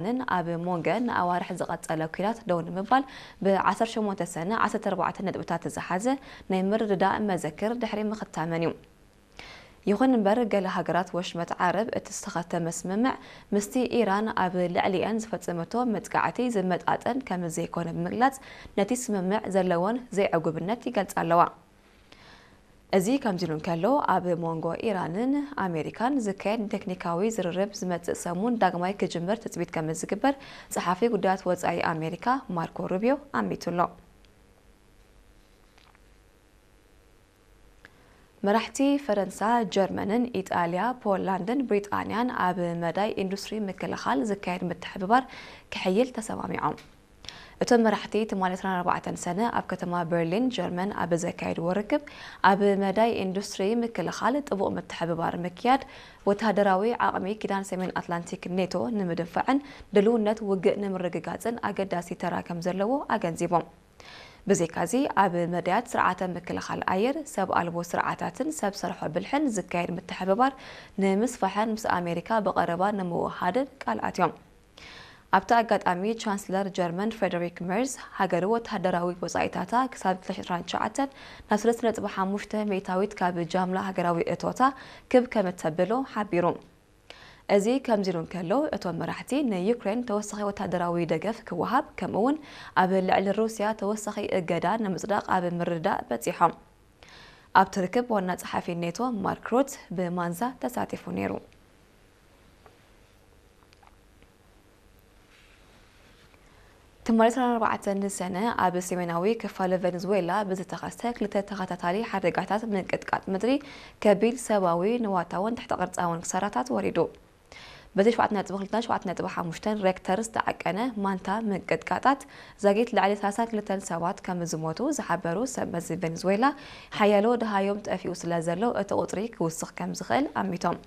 ኢራንን ኣብ ሞንገ ንኣዋርሕ ዝቐጸለ ኲናት ደው ንምባል ብ ዓሰርተ ሸሞንተ ሰነ ዓሰርተ ኣርባዕተ ነጥብታት ዝሓዘ ናይ ምርድዳእ መዘክር ድሕሪ ምኽታመን እዩ። ይኹን እምበር፣ ገለ ሃገራት ወሽመጥ ዓረብ እቲ ዝተኸተመ ስምምዕ ምስቲ ኢራን ኣብ ልዕሊአን ዝፈጸመቶ መጥቃዕቲ ዝመጣጠን ከም ዘይኮነ ብምግላጽ፣ ነቲ ስምምዕ ዘለወን ዘይዕጉብነት ይገልጻ ኣለዋ። እዚ ከምዚ ኢሉ እንከሎ፣ ኣብ መንጎ ኢራንን ኣሜሪካን ዝካየድ ቴክኒካዊ ዝርርብ ዝመጽእ ሰሙን ዳግማይ ክጅምር ትጽቢት ከም ዝግበር ጸሓፊ ጉዳያት ወጻኢ ኣሜሪካ ማርኮ ሩቢዮ ኣሚቱ ኣሎ። መራሕቲ ፈረንሳ፣ ጀርመንን ኢጣልያ፣ ፖላንድን ብሪጣንያን ኣብ መዳይ ኢንዱስትሪ ምክልኻል ዝካየድ ምትሕብባር ክሕይል ተሰማሚዖም። እቶም መራሕቲ ትማሊ ዕስራን ኣርባዕተን ሰነ ኣብ ከተማ በርሊን ጀርመን ኣብ ዘካየድዎ ርክብ፣ ኣብ መዳይ ኢንዱስትሪ ምክልኻል ጥቡቕ ምትሕብባር ምክያድ፣ ወተሃደራዊ ዓቕሚ ኪዳን ሰሜን ኣትላንቲክ ኔቶ ንምድንፋዕን ድልውነት ውግእ ንምርግጋጽን ኣገዳሲ ተራ ከም ዘለዎ ኣገንዚቦም። ብዘይካዚ፣ ኣብ መዳያት ስርዓተ ምክልኻል ኣየር፣ ሰብ ኣልቦ ስርዓታትን ሰብ ሰርሖ ብልሕን ዝካየድ ምትሕብባር ንምስፋሕን ምስ ኣሜሪካ ብቐረባ ንምውሃድን ቃል ኣትዮም። ኣብቲ ኣጋጣሚ፣ ቻንስለር ጀርመን ፍሬደሪክ መርዝ፣ ሃገሩ ወተሃደራዊ ወጻኢታታ ክሳብ ክልተ ሽሕን ዕስራን ትሽዓተን ናብ ሰለስተ ነጥቢ ሓሙሽተ ሚእታዊት ካብ ጃምላ ሃገራዊ እቶታ ክብ ከም እተብሎ ሓቢሩ። እዚ ከምዚ ኢሉ እንከሎ፣ እቶም መራሕቲ ንዩክሬን ተወሳኺ ወተሃደራዊ ደገፍ ክወሃብ፣ ከምኡ'ውን ኣብ ልዕሊ ሩስያ ተወሳኺ እገዳ ንምጽዳቕ ኣብ ምርድዳእ በጺሖም። ኣብቲ ርክብ፣ ዋና ጸሓፊ ኔቶ ማርክ ሩት ብማንዛ ተሳቲፉ ነይሩ። ትማሊ ዕስራን ኣርባዕተን ሰነ ኣብ ሰሜናዊ ክፋል ቬኔዙዌላ ብዝተኸስተ ክልተ ተኸታታሊ ሓደጋታት ምንቅጥቃጥ ምድሪ፣ ከቢድ ሰብኣዊ፣ ንዋታውን ትሕተ ቅርጻውን ክሳራታት ወሪዱ። በቲ ሸውዓተ ነጥቢ ክልተን ሸውዓተ ነጥቢ ሓሙሽተን ሬክተር ዝተዓቀነ ማንታ ምንቅጥቃጣት፣ ዛጊት ልዕሊ ሰላሳን ክልተን ሰባት ከም ዝሞቱ ዝሓበሩ ሰብ መዚ ቬኔዙዌላ፣ ሓያሎ ደሃዮም ጠፊኡ ስለ ዘሎ፣ እቲ ቁጽሪ ክውስኽ ከም ዝኽእል ኣሚቶም።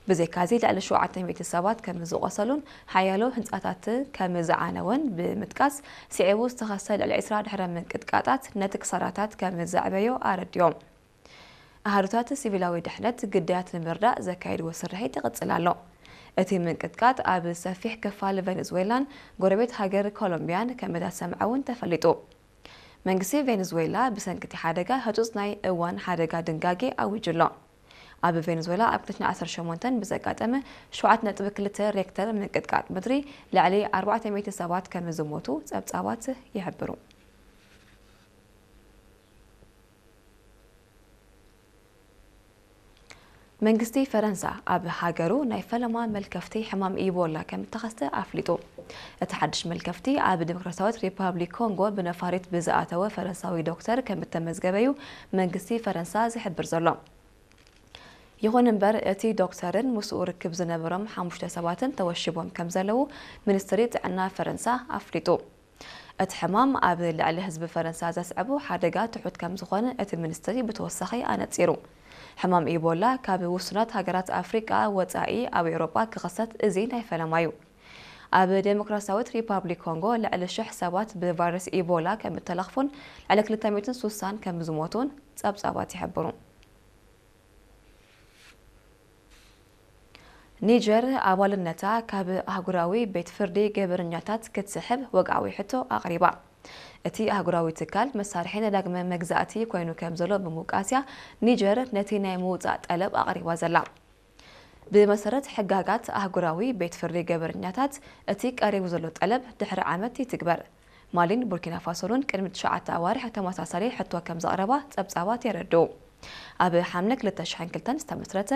ብዘይካዚ፣ ልዕሊ ሸውዓተ ሚእቲ ሰባት ከም ዝቖሰሉን ሓያሎ ህንጻታት ከም ዝዓነወን ብምጥቃስ፣ ስዒቡ ዝተኸስተ ልዕሊ ዕስራ ድሕረ ምንቅጥቃጣት ነቲ ክሳራታት ከም ዘዕበዮ ኣረዲኦም። ኣሃዱታት ሲቪላዊ ድሕነት ግዳያት ንምርዳእ ዘካየድዎ ስርሒት ይቕጽል ኣሎ። እቲ ምንቅጥቃጥ ኣብ ሰፊሕ ክፋል ቬኔዙዌላን ጎረቤት ሃገር ኮሎምቢያን ከም እተሰምዐ እውን ተፈሊጡ። መንግስቲ ቬኔዙዌላ ብሰንኪ እቲ ሓደጋ ህጹጽ ናይ እዋን ሓደጋ ድንጋጌ ኣዊጁ ኣሎ። ኣብ ቬኔዙዌላ ኣብ ክልተ ሽሕን ዓሰርተ ሸሞንተን ብዘጋጠመ ሸውዓተ ነጥቢ ክልተ ሬክተር ምንቅጥቃጥ ምድሪ ልዕሊ ኣርባዕተ ሚእቲ ሰባት ከም ዝሞቱ ጸብጻባት ይሕብሩ። መንግስቲ ፈረንሳ ኣብ ሃገሩ ናይ ፈለማ መልከፍቲ ሕማም ኢቦላ ከም እተኸስተ ኣፍሊጡ። እቲ ሓድሽ መልከፍቲ ኣብ ዲሞክራሲያዊት ሪፓብሊክ ኮንጎ ብነፋሪት ብዝኣተወ ፈረንሳዊ ዶክተር ከም እተመዝገበ እዩ መንግስቲ ፈረንሳ ዝሕብር ዘሎ። ይኹን እምበር፣ እቲ ዶክተርን ምስኡ ርክብ ዝነበሮም ሓሙሽተ ሰባትን ተወሺቦም ከም ዘለዉ ሚኒስትሪ ጥዕና ፈረንሳ ኣፍሊጡ። እቲ ሕማም ኣብ ልዕሊ ህዝቢ ፈረንሳ ዘስዕቦ ሓደጋ ትሑት ከም ዝኾነ እቲ ሚኒስትሪ ብተወሳኺ ኣነጺሩ። ሕማም ኢቦላ ካብ ውሱናት ሃገራት ኣፍሪቃ ወጻኢ ኣብ ኤውሮጳ ክኽሰት እዚ ናይ ፈለማ እዩ። ኣብ ዴሞክራሲያዊት ሪፓብሊክ ኮንጎ ልዕሊ ሽሕ ሰባት ብቫይረስ ኢቦላ ከም እተለኽፉን ልዕሊ ክልተ ሚእትን ሱሳን ከም ዝሞቱን ጸብጻባት ይሕብሩ። ኒጀር ኣባልነታ ካብ ኣህጉራዊ ቤት ፍርዲ ገበረኛታት ክትስሕብ ወግዓዊ ሕቶ ኣቕሪባ። እቲ ኣህጉራዊ ትካል መሳርሒ ንዳግመ መግዛእቲ ኮይኑ ከም ዘሎ ብምውቃስያ ኒጀር ነቲ ናይ ምውጻእ ጠለብ ኣቕሪባ ዘላ። ብመሰረት ሕጋጋት ኣህጉራዊ ቤት ፍርዲ ገበረኛታት፣ እቲ ቀሪቡ ዘሎ ጠለብ ድሕሪ ዓመት ይትግበር። ማሊን ቡርኪና ፋሶን እውን ቅድሚ ትሽዓተ ኣዋርሕ ተመሳሳሊ ሕቶ ከም ዘቕረባ ጸብጻባት የረድኡ። ኣብ ሓምለ ክልተ ሽሕን ክልተን ዝተመስረተ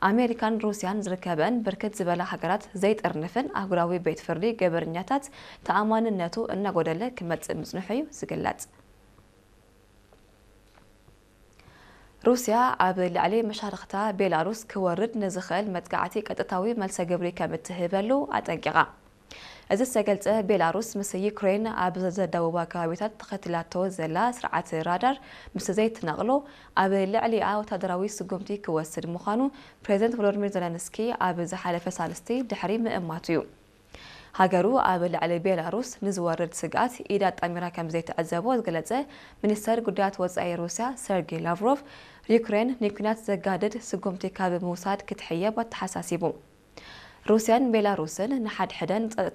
ኣሜሪካን ሩስያን ዝርከበን ብርክት ዝበላ ሃገራት ዘይጥርንፍን ኣህጉራዊ ቤት ፍርዲ ገበረኛታት ተኣማንነቱ እናጎደለ ክመጽእ ምጽንሑ እዩ ዝግለጽ። ሩስያ ኣብ ልዕሊ መሻርኽታ ቤላሩስ ክወርድ ንዝኽእል መጥቃዕቲ ቀጥታዊ መልሰ ግብሪ ከም እትህበሉ ኣጠንቂቓ። እዚ ዝተገልጸ፣ ቤላሩስ ምስ ዩክሬን ኣብ ዘደቡባ ከባቢታት ተኸቲላቶ ዘላ ስርዓት ራዳር ምስ ዘይትነቕሎ፣ ኣብ ልዕሊኣ ወታደራዊ ስጉምቲ ክወስድ ምዃኑ ፕሬዚደንት ቮሎዲሚር ዘለንስኪ ኣብ ዝሓለፈ ሳልስቲ ድሕሪ ምእማቱ እዩ። ሃገሩ ኣብ ልዕሊ ቤላሩስ ንዝወርድ ስግኣት ኢድ ኣጣሚራ ከም ዘይትዕዘቦ ዝገለጸ ሚኒስተር ጉዳያት ወጻኢ ሩስያ ሰርጌ ላቭሮቭ፣ ዩክሬን ንኲናት ዘጋድድ ስጉምቲ ካብ ምውሳድ ክትሕየብ ኣተሓሳሲቡ። ሩስያን ቤላሩስን ንሓድሕደን ጸጥታ